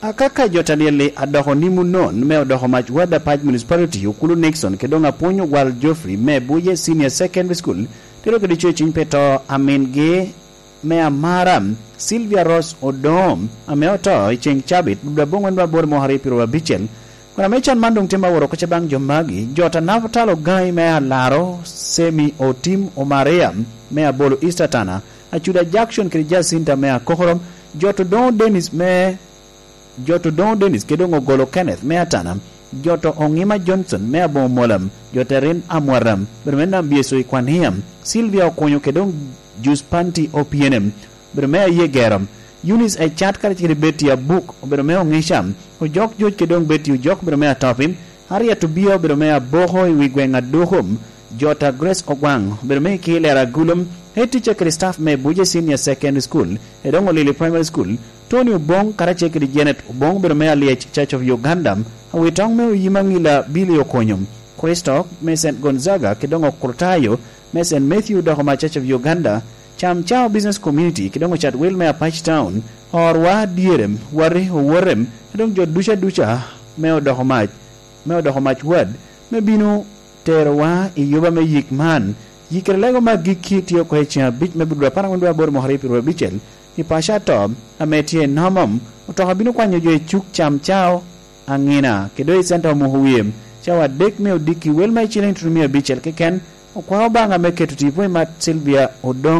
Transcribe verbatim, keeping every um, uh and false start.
Akaka jo Talieli adoko ni munon me odoko mac Wadapac Municipality, Okulu Nixon, kede doŋ apwony Ogwal Geoffrey me Buje Senior Secondary School, tero kede coyo ciny pe to amingi me amara, Sylvia Ross Odom, ame oto i ceŋ cabit, dwe aboŋwen dwe aboro mwaka aryo pyeru abicel. Kun ame can man doŋ tye ma woro kuca baŋ jo magi, jo ta Naftalo Gaŋi me Alaro, Semi Otim Omaria me Abolo East Atana, Acuda Jackson kede Jacinta me Akokorom, jo to Doŋo Dennis me jo to Doŋo Dennis kede doŋ Ogolo Kenneth me Atana, jo to Oŋima Johnson me Aboŋo Molam, jo to Erin Amwaram, bedo me Nambyeso i Kwaniam, Sylvia Okunyo kede doŋ Jus Panti Opienem, bedo me Aye Gero, Eunice Ecat karacel kede Betty Abuk, obedo me Oŋica, Ojok Joc kede doŋ Betty Ojok, bedo me Atopim, Harriet Obia, obedo me Aboko i wi gweŋ Adukum, jo ta Grace Ogwaŋ, obedo me Ikilera Agulum, head teacher kede staff me Buje Senior Secondary School, kede doŋ Olili Primary School, Tony Oboŋ karacel kede Janet Oboŋ, obedo me Alyec Church of Uganda, awitoŋ me Oyima Ŋila Billy Okonyo, Kristo me Saint Gonzaga kede doŋ Okrutayo me Saint Matthew dok ma Church of Uganda, Cam Cao Business Community kede doŋ ocat wel me Apac Town, orwa dyere, wati, owote, kede doŋ jo duca duca me odoko mac, me odoko mac wad, me bino terowa i yuba me yik man. Yikere lego me agikki tye oko i ceŋ abic me Budura apar angwen dwe aboro mwaka aryo pyeru abicel, i paco ato ame tye i Nomom, otoka bino kwanyo jo i cuk Cam Cao, Aŋina, kede doŋ i centa Omoko Wie, cawa adek me odiki wel ma i ciliŋ tutumia abicel keken, okwao Obaŋa me keto tipo i mat Sylvia Odom.